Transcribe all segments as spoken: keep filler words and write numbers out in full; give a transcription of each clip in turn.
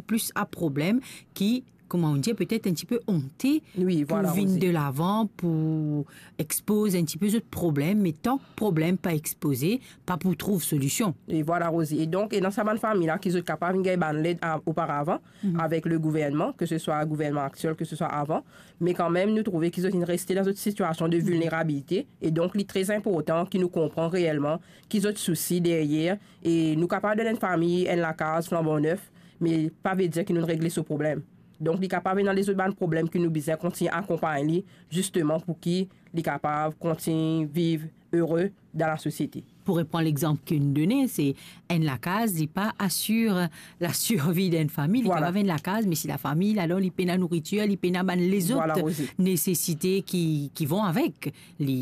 plis a problem, ki, kouma nou dir, petet enn tipe onte pou vinn de lavan, pou expoz enn tipe zot problem, me tan ki problem pa expoze, pa pou trouv solision. E vwala, Rosie. E donk, e dan sa bann fami la ki zot kapav vinn gagn bann led a-, oparavan, avek le gouvernman, ke se swa gouvernman aktiel, ke se swa avan, me kanmem, nou trouve ki zot inn reste dan zot sitiasion de vilnerabilite, e donk, li tre inportan ki nou konpran reelman ki zot sousi deryer, e nou kapav donn enn fami enn lakaz flanban nef, me pa ve dir ki nou regle so problem. Donk, li kapav ena lezot bann problem ki nou bizin kontign akonpagn li, zisteman pou ki li kapav kontign viv ere dan lasosiete. Pou repran lexanp ki nou done, se enn lakaz, li pa asir lasirvi d'enn fami, li kapav enn lakaz, me si lafami ladan, li pena nouritir, li pena bann lezot nesesite ki, ki vont avek, li,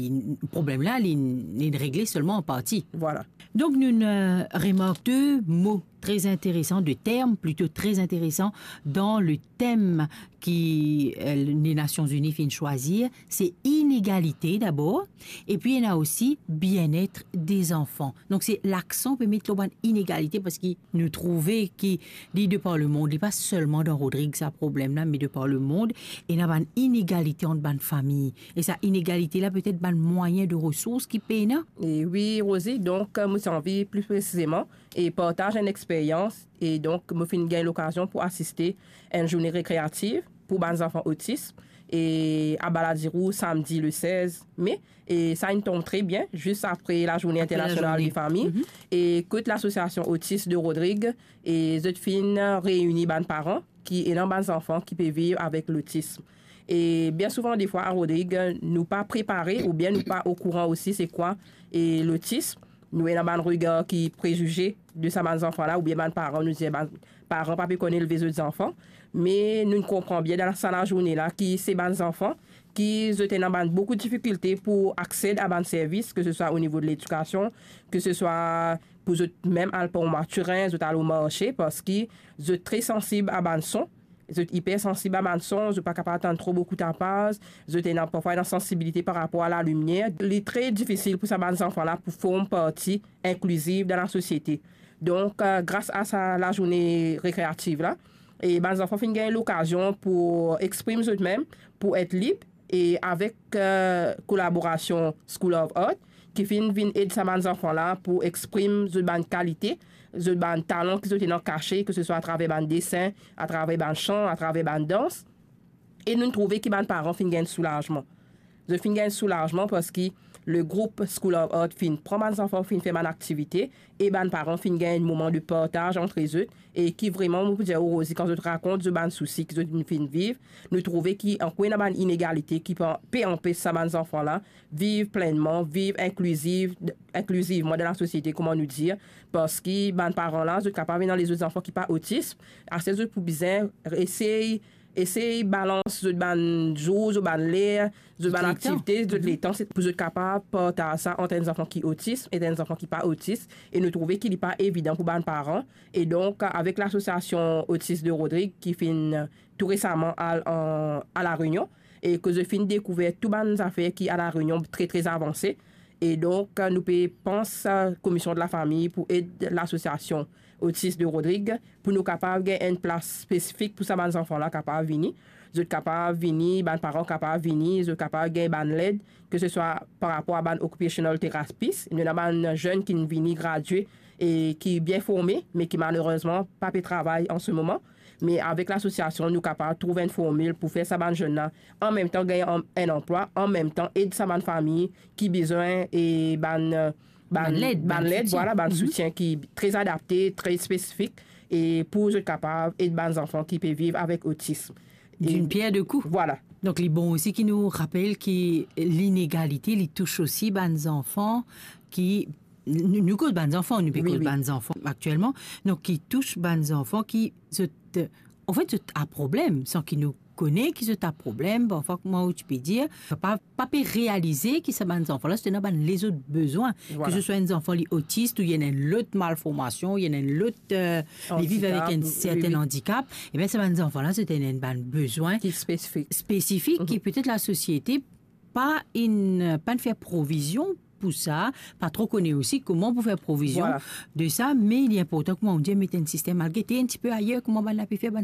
problem la, li, li regle selman an parti. Vwala. Donk, nou, eh, remark de mo tre interesan, de term plito tre interesan dan le tem ki, eh, le Nasion Zini finn swazir, se inegalite dabor, epi ena osi bienet de zanfan. Donk, se laksan pe met lor bann inegalite, parski nou trouve ki li de par lemond, li pa selman dan Rodrig sa problem la, me de par lemond, ena bann inegalite ant bann fami. E sa inegalite la, petet bann mwayin de resours ki pena. E wi, Rosie, donk, mo ti anvi pli presizeman e partaz enn experyans. E donk, mo finn gagn lokazion pou asiste enn zourne rekreativ pou bann zanfan otis, e a Baladiro, samdi le sez me, e sa inn tonm tre bien, zis apre lazourne internasional de fami, e kot lasosiasion Otis de Rodrig, e zot finn reini bann paran ki ena bann zanfan ki pe viv avek lotism. E bien souvan, defwa, a Rodrig, nou pa prepare oubien nou pa okouran osi se kwa, e, lotism. Nou ena bann regar ki prezize de sa bann zanfan la, oubien bann paran, nou dir bann paran pa pe konn elve zot zanfan. Me nou konpran bien dan sa lazourne la ki se bann zanfan ki zot ena bann boukou difikilte pou aksed a bann servis, ke se swa o nivo de ledikasion, ke se swa pou zot mem al pran matirin, zot al o marse, parski zot tre sansib a bann son, zot ipersansib a bann son, zot pa kapav tann tro boukou tapaz, zot ena parfwa ena sansibilite par rapor a lalimier. Li tre difisil pou sa bann zanfan la pou form parti inkliziv dan lasosiete. Donk, eh, gras a sa lazourne rekreativ la, e bann zanfan finn gagn lokazion pou exprim zot mem, pou et lib, e avek, eh, kolaborasion School of Art, ki finn vinn ed sa bann zanfan la pou exprim zot bann kalite, zot bann talan ki zot ena kase, ke se swa atraver bann desin, atraver bann san, atraver bann dans. E nou trouve ki bann paran finn gagn soulazman. Zot finn gagn soulazman parski le group School of Art finn pran bann zanfan, finn fer bann aktivite, e bann paran finn gagn enn moman de partaz ant zot, e ki vreman, mo pou dir ou, Rosie, kan zot rakont zot bann sousi ki zot finn viv, nou trouve ki ankor ena bann inegalite ki pe, pe anpes sa bann zanfan la viv plennman, viv inkliziv, inklizivman dan lasosiete, kouma nou dir, parski bann paran la, zot kapav ena lezot zanfan ki pa otis, aster zot pou bizin esey, esey balans zot bann zour, zot bann ler, zot bann aktivite, zot letan, se pou zot kapav partaz sa ant enn zanfan ki otis e enn zanfan ki pa otis, e nou trouve ki li pa evidan pou bann paran. E donk, avek lasosiasion Otis de Rodrig ki finn tou resaman al an, a La Rényon, e ke zot finn dekouver tou bann zafer ki a La Rényon tre, tre avanse. E donk, nou pe pans, eh, Komision de Lafami pou ed lasosiasion Otis de Rodrig, pou nou kapav gagn enn plas spesifik pou sa bann zanfan la kapav vini. Zot kapav vini, bann paran kapav vini, zot kapav gagn bann led, ke se swa par rapor a bann occupational therapist. Nou ena bann zenn ki vini gradie e ki bien forme, me ki malerezman pa pe travay an se moman. Me avek lasosiasion, nou kapav trouv enn formil pou fer sa bann zenn la, an mem tan gagn an, enn anplwa, an mem tan ed sa bann fami ki bizin, e bann, eh, bann, bann led, bann bann led, soutien. Vwala, bann soutien ki tre adapte, tre spesifik, e pou zot kapav ed bann zanfan ki pe viv avek otism. E d'une pierre deux coups. Vwala. Donk, li bon osi ki nou rapel ki linegalite, li tous osi bann zanfan ki, nou, nou koz bann zanfan, nou pe koz bann zanfan aktielman, donk ki tous bann zanfan ki zot, anfet, zot a problem, san ki nou kone ki zot a problem, parfwa, kouma ou ti pe dir, pa, pa pe realize ki sa bann zanfan la, zot ena bann lezot bezwin, ke se swa enn zanfan li otis, ou li ena enn lot malformasion, ou li ena enn lot, eh, li viv avek enn serten andikap, wi, wi. Ebien, sa bann zanfan la, zot ena enn bann bezwin spesifik, ki petet lasosiete pa inn, pa inn fer provizion pou sa, pa tro kone osi kouma pou fer provizion de sa, me li inportan, kouma ou dir, met enn sistem, al gete enn tipe ayer kouma bann la pe fer, bann